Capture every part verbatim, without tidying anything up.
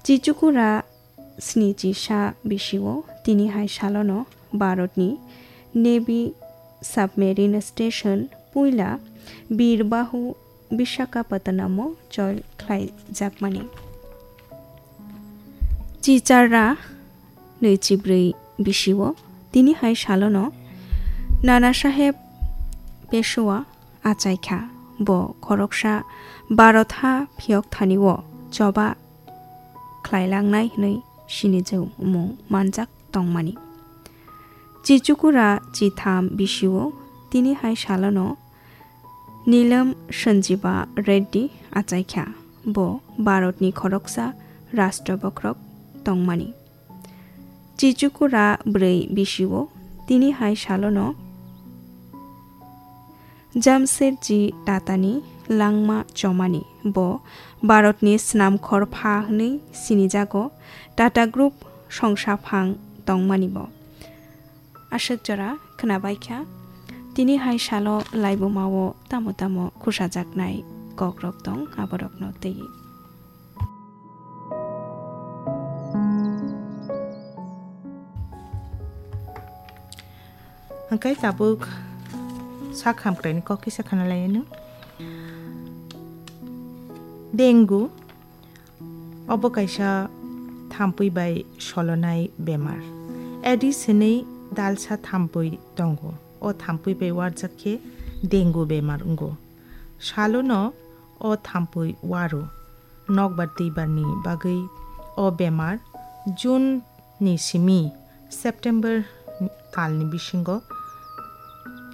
Chichukura snichi sa bisio tini hai salono Bharatni Navy submarine station puila Birbahu Visakhapatnamo chol khlaijakmani. Chicharra nwichibrwi bisio tini hai salono Nana Saheb Peshwa achaikha. Bo khoroksa Bharat ha phiyok thanio choba khlailangnai hwnwi sinijwk mung manjak tongmani. Chichukura chitham bisio tini hai salono Nilam Sanjiba Reddy achaikha. Bo Bharatni khoroksa rashtra bokhorok tongmani. Chichukura bwrwi bisio tini hai salono Jamshedji Tatani langma chomani. Bo Bharatni snamkhor pha hwnwi sinijago. Tata Group songsaphang tongmani bo. Aswk jora khwnabaikha. Tini hai salo laibumao tamo tamo khusajaknai kokrok tong, aborokno twi. Hwnkhe tabuk sak hamkraini kok kisa khana lai anw. Dengue obo kaisa thampui bai solonai bemar. Aedes hinwi dalsa thampui tongo. O thampui bai warjak khe dengue bemar wngo. Salono o thampui waro. Nokbar twibarni bagwi o bemar June ni simi September talni bisingo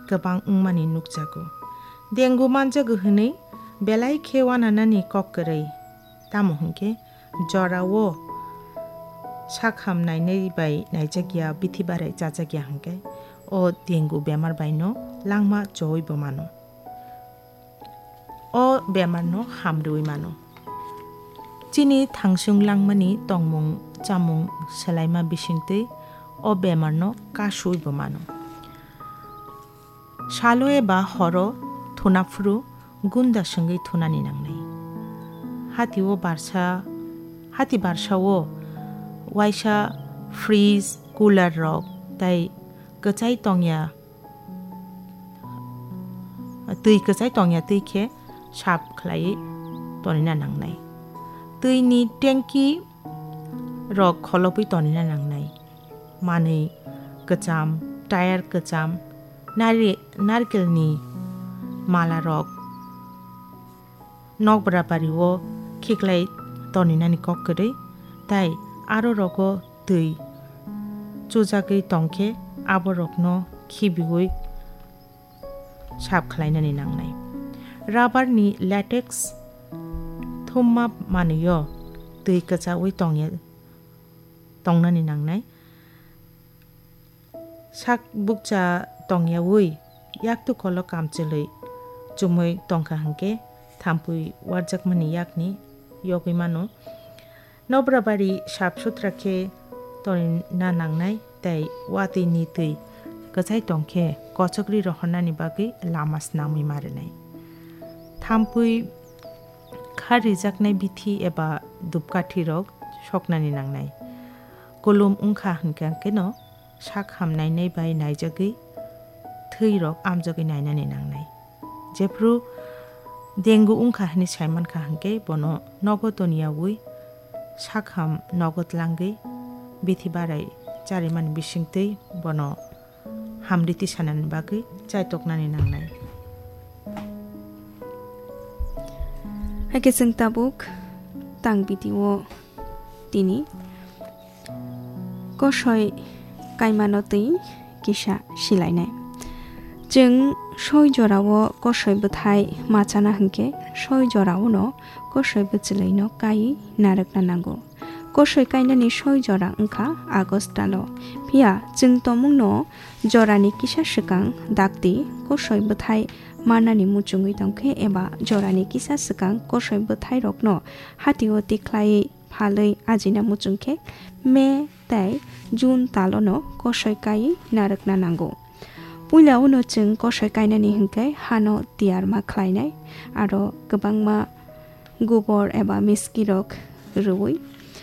kwbang wngmani nukjago. Dengue manjago hwnwi belai khe uananani kok kwrwi, tamo hwnkhe jorao sakham nainai bai naijakya, bithi barai chajakya hwnkhe o dengue bemar baino langma chowi bo mano. O bemarno hamrwi mano. Chini thangsung langmani tongmung chamung swlaima bisingtwi o bemarno kasui bo mano. Salo eba horo thuna phuru gunda swngwi thunani nangnai. Hati o barsa, hati barsa o waisa fridge, cooler rok tei kwchai tongya twi kwchai tongya twi khe sap khlaiwi tonina nangnai. Twini tanki rok kholopwi tonina nangnai. Manwi kwcham, tire kwcham, nari-, narkelni mala rok nokbra bario khiklai toninani kok kwrwi, tai aro rogo twi chujagwi tongkhe aborokno khibiui sap khlainani nangnai. Rubber ni latex thumma manwio twi kwchaui tongya, tongnani nangnai. Sak bukcha tongyaui yaktu kolo kamchwlwi chumui tongkha hwnkhe thampui warjakmani yakni yogwi mano. Nobrabari sap sutra khe tonina nangnai tei watwi ni twi kwchai tongkhe kochokri rohornani bagwi lama snamwi ma rwnai. Thampui khar rijaknai bithi eba dupkathi rok soknani nangnai. Kulum wngkha hwnkhe no sak hamnainai bai naijagwi thwi rok amjagwi nainani nangnai. Jephru dengue wngkha hwnwi saimankha hwnkhe bono nogo toniyaui sakham nogo tlangwi bithi barai charimani bisingtwi bono hamriti sanani bagwi chaitoknani nangnai. Hakhe chwng tabuk tang video tini kosoi kaimano twi kisa silainai. Chwng soi jorao kosoi bwthai machana hwnkhe soi jorao no kosoi bwchwlwino kai narwkna nango. Kosoi kainani soi jora wngkha August talo. Phiya chwng tongmungno jorani kisa swkang dakti kosoi bwthai manani muchungwi tongkhe eba jorani kisa swkang kosoi bwthairokno hatio tikhlai phalwi ajina muchungkhe May tei June talono kosoi kai narwkna nango. Puila uno chwng kosoi kainani hwnkhe hano tiyar ma khlainai, aro kwbangma gubor eba miskirok rwui